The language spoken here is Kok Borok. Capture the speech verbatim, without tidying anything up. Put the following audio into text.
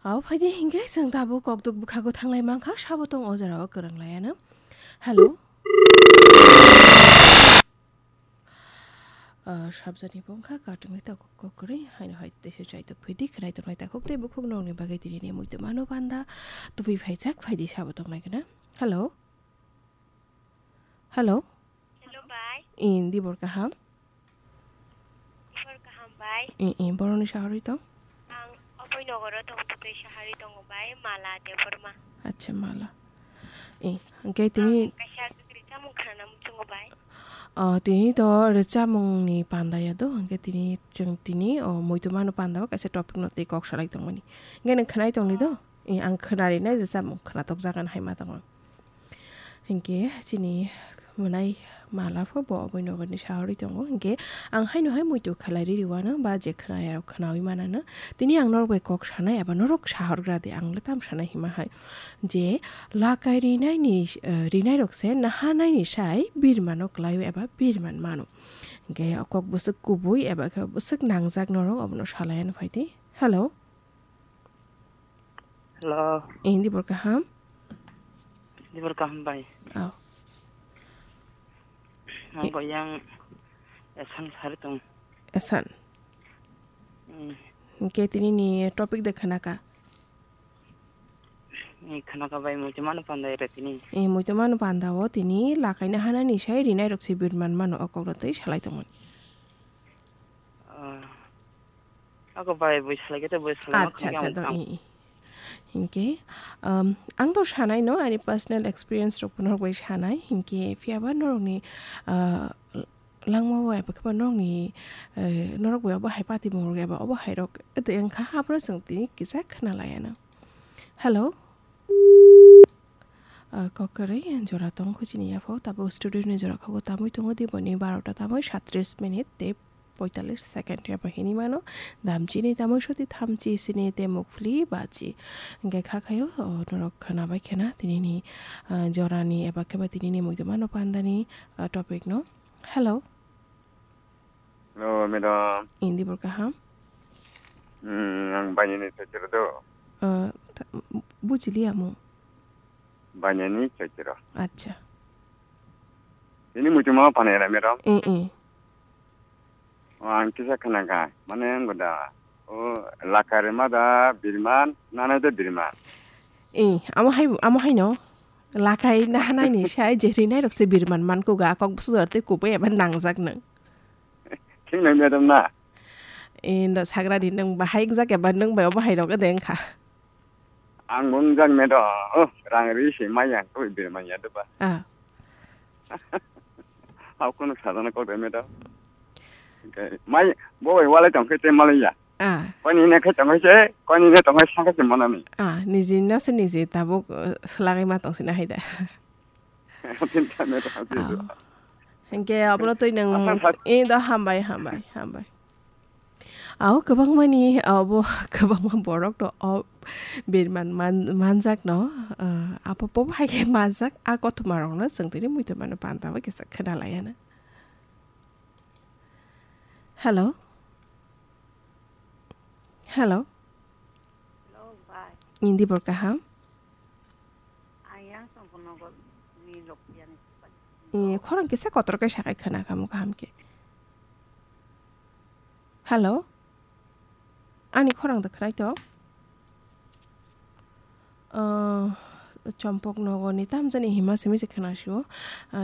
Abo phaidi hinkhe chwng tabuk kokduk bwkhago thanglai mankha, sabo tong o jorao kwrwng laiano. Hello? Ah, sabjani bongkha katung nai takhuk kok kwrwi, haino hai teisa chai tok phaidi, khwnai tongnai takhuk tei bukhuk nokni bagwi tini ni muitu mano panda tubui phaijak, phaidi sabo tongnai gana. Hello? Hello? Hello, bai. In, dibor kaham? Dibor kaham, bai. In, in, boroni sahari tong? Ang Aboi Nogoro tong, tei sahari tongo, bai. Mala Debbarma. Acha, Mala. In, hingke tini ang kaisa kwrwi chamung khanana muchungo, bai. Oh, tini to rwchapmungni panda ya do, hingke tini chwng tini, oh, muitu mano panda o kaisa topic no tei kok salai tongmani. Hingke nwng khwnai tongni do? Oh. In, ang khwnari nai rwchapmung khwnatok jagan hai ma tongo. Hinkhe chini mwnai Mala pho bo Aboi Nogorni sahorwi tongo. Hinkhe ang haino hai muitu khalai riri wano ba je khwnaya rok khwnawi manano. Tini ang norok bai kok sanai eba norok sahorgra de, ang le tam sanai hima hai. Je lakai rinaini, eh, rinai rok se naha naini sai birmano kwlaio eba birman mano. Hinkhe o kok bwswk kubui eba khe bwswk nangjak norok obono salaiano phaidi. Hello. Hello. Eh, dibor kaham? Dibor kaham bai. Oh. Ang Eh. Bo yang esan sari tong. Esan? Hmm. Hingke tini ni topic de khanaka? Eh, khanaka bai muitu mano panda ere tini. Eh, muitu mano panda o tini lakaina hanani sai rinai rok se birman mano o kok rok tei salai tongmani. Ah. Ako bai bui salai kete bui salai ma Acha, khana acha, ang do, tang. I, i. Hinkhe, um, ang do sanai no, ani personal experience rok norok bai sanai. Hinkhe, phiya ba norokni, ah, langma o eba khe ba norokni, eh, norok bai obo hai pati mung rok eba obo hai rok ede wngkha, abro chwng tini kisa khna laiya no. Hello? Ah, kok kwrwi jora tong kho chini yaphao, tabuk studio ni jora kho tamui tongo di boni barota tamui satrish minute tei poitalish second ya bo hinwi mano. Damchini tamui soti thamchi sini te mukphli bachi. Hingke kha khayo, o, norok khwna bai khena tinini, ah, jorani eba khe ba tinini muitu mano pandani, ah, topic no. Hello. Hello, madam. Indi bor kaham? Hmm, ang Banyani Chaitya do. Ah, ta-, bujili amo. Banyani Chaitya. Acha. Ini muitu mano panai ra, madam. Eh, eh. O, ang kisa khna kha, mane ang da, o, lakai rima da birman, nanai da birman. Eh, amo hai, amo hai no. Lakai na hanai ni sai je rinai rok se birman man ko ga kok bwswk jor tei kubui eba nangjak nang. Thik nang madam na. Eh, da sagra di nang bahai jak eba nang bai obo hai rok de wngkha. Ang bo wngjak, madam. Oh, rang ri se maya, koi birman ya doba. Ah. Hao kono sajana kok de, madam. Mai, bo bai walai tong khe te malai ya. Ah. Koi ni ne khe tong khe se, koi ni ne tong khe sa khe se manani. Ah, niji no se niji tabuk, uh, swlagwi ma tong sina hai da. Tin ta, madam, tin ta. Ah. Hingke abono twi nang Asam sa- eh, do hambai, hambai, hambai. Ao kwbangmani, abo kwbangma borok rok o birman man-, manjak no, ah, abo bo hai khe manjak, a kothoma rok no chwng tini muitu mano panda bai kisa khwna laiya na. Hello? Hello? Hello, bai. Indi bor kaham? Ayang Songkon Nogor ni Lokpiani. Eh, khorang kisa kotor khe sakai khwna khamu kaham khe. Hello? Ani khorang da khwlai to? Ah, Chompok Nogor ni tamjani hima simi se khwna sio. Ah,